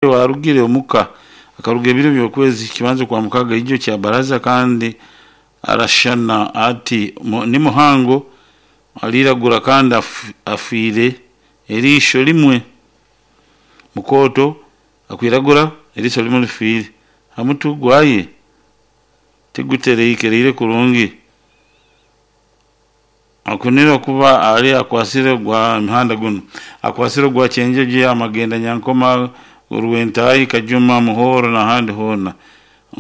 Owarugire omuka akaruga ebiro by'okwezi kibanza kwa mukaga ijo kya baraza kandi arashana ati ni muhango aliragura kandi afiire eriisho limwe. Mukooto akwiragura eriisho limwe lifiire. Hamutwe gwaye tigutereikereire kurungi. Akunira kuba ali akwasire gwa mihanda gunu. Akwasire gwa Kyenjojo, Amagenda, Nyankoma, Rwentayi, Kajuma, Muhoro n'ahandi hoona.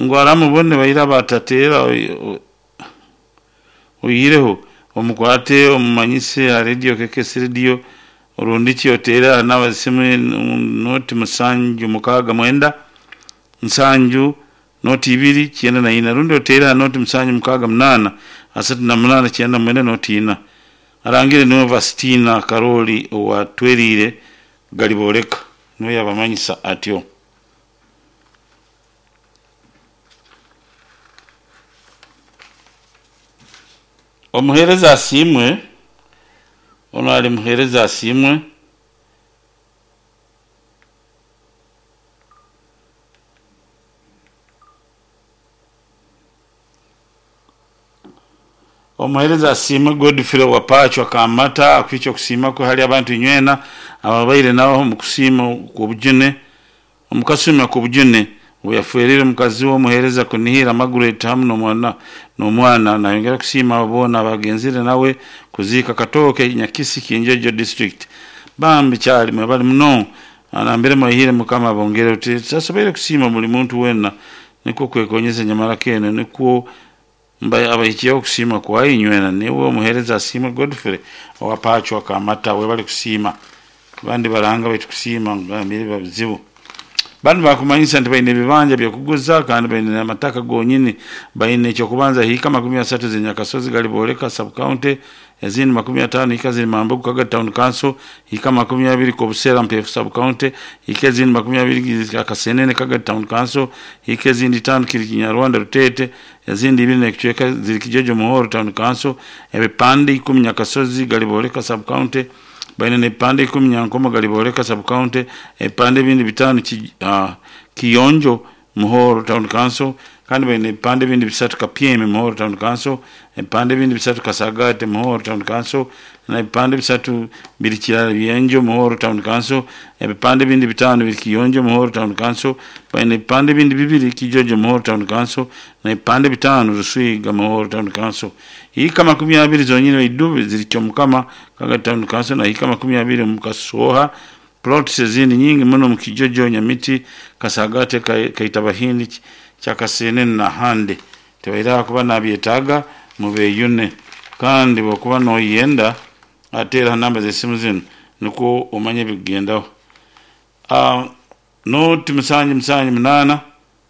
Ngu aramubone baira batateera oihireho omukwate omumanyise aha radio KKS radio orundiki oteere aha namba z'esimu noti musanju mukaaga mwenda nsanju noti ibiri kyenda na ina rundi oteere aha noti musanju mukaaga munaana asatu na munaana kyenda mwenda noti ina. Arangire niwe Vastina Karoli owa Tweriire Galibooleka niwe yabamanyisa atyo. Omuheereza asiimwe, onu ali muheereza asiimwe. Omuheereza asiimwe Godfrey Wapachwa Kamata akwica okusiima kwe hali abantu inywena ababaire nawe omu kusiima okw'obujune omu kasumi ak'obujune obu yaferire omukazi we omuheereza Kunihira Margaret hamu n'omwana. Nayongera kusiima abo boona abagenzire nawe kuziika Katooke Nyakisi Kyenjojo district. Bambi kyali mwebale muno nambere mwaihire Mukama abongere oti tutasoboire kusiima buli muntu weena nikwo kwekonyeza nyamara kene nikwo abahikyeho okusiima kwaye inywena. Niwe omuheereza asiimwe Godfrey Owapachwa Kamata webale kusiima. Abandi baranga baitu kusiima ngambire biba bizibu. Banu bakumanyisa nti baine ebibanja byokuguza kandi baine n'amataka gonyini. Baine ekyokubanza hiika 30 ziri Nyakasozi Galibooleka sub county, ezindi 50 hiika ziri Mambogo Kagadi town council, hiika 20 Kobusera Mpeefu sub county, hiika ezindi 20 Akasenene Kagadi town council, hiika ezindi 5 kiri Kinyarwanda Ruteete, ezindi ibiri n'ekicweka ziri Kijojo Muhoro town council, ebipande 10 Nyakasozi Galibooleka sub county, baine n'ebipande 10 Nyankoma Galibooleka sub county, ebipande ebindi 5 Kiyonjo Muhoro town council, kandi baine ebipande ebindi 3 Kapyemi Muhoro town council, ebipande ebindi 3 Kasagate Muhoro town council, n'ebipande 3 biri Kirara Byenjo Muhoro town council, ebipande ebindi 5 biri Kiyonjo Muhoro town council, baine ebipande ebindi 2 Kijojo Muhoro town council, n'ebipande 5 Ruswiga Muhoro town council. Hiika 20 zonyini Idube ziri Kyomukama Kagadi town council na hiika 20 omu Kasooha. Plots ezindi nyingi muno omu Kijojo, Nyamiti, Kasagate, Kaitabahindi, Kyakasenene n'ahandi. Tibaire kuba nabyetaaga mubeyune kandi bwokuba noyenda ateera ha namba z'esimu zinu nikwo omanye ebikugendaho. Noti musanju musanju munaana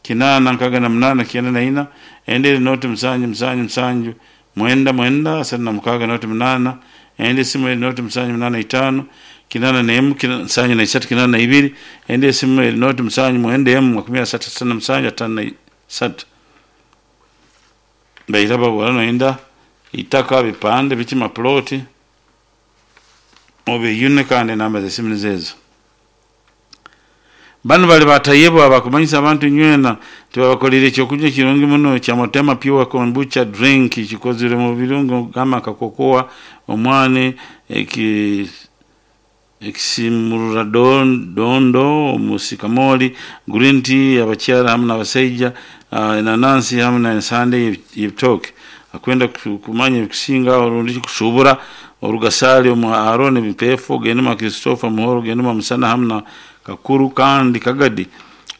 kinaana nkaaga na munaana kyenda na ina, endi eri noti musanju musanju musanju mwenda mwenda asatu na mukaaga noti munaana, endi esimu eri noti musanju munaana itaano kinaana n'emu nsanju na isatu kinaana na ibiri, endi esimu eri noti musanju mwenda emu 30 67 53. Baira babura noyenda itaka bipande biki maploti obeyune kandi enamba z'esimu nizo ezo. Banu bali batayebwa abakumanyisa abantu inywena tibabakolire ekyokunywa kirungi muno kya Motema Pure Kombucha drink kikozire mu birungo gamba nka kokoa, omwani, ekisimurra dondo, omusikamoli, green tea abakyara hamu n'abasaija, enanansi hamu n'ensande y'ebitooke. Akwenda kumanya ebikusinga rundi kusuubura orugasaali omu Aaron Mpeefu, ogende mwa Christopher Muhoro, ogende mwa Musana hamu na Kakuru kandi Kagadi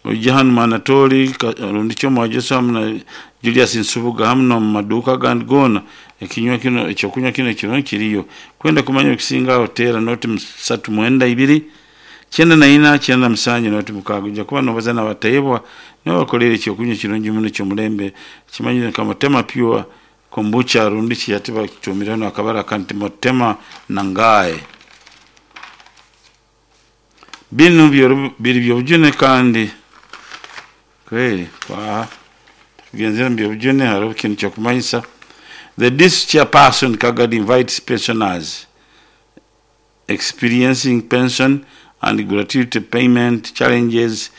oije hanu mwa Anatoli rundi ki omwa Joshua hamu na Julius Nsubuga hamu n'omu maduuka agandi goona ekinywa kinu ekyokunywa kinu ekirungi kiriyo. Kwenda kumanya ebikusinga aho teera noti satu mwenda ibiri kyenda na ina kyenda na musanju noti mukaaga. Oija kuba nobaza n'abatayebwa nibo bakolere ekyokunywa ekirungi muno eky'omulembe ekimanyire nka Motema Pure Kombucha rundi ki hati bakituumireho n'akabara akandi nti Motema Nangaye. Binu biri by'obujune kandi kweri twaha tugenzere omu by'obujune hariho ekintu kyokumanyisa. The district chairperson Kagadi invites pensioners experiencing pension And gratuity payment challenges.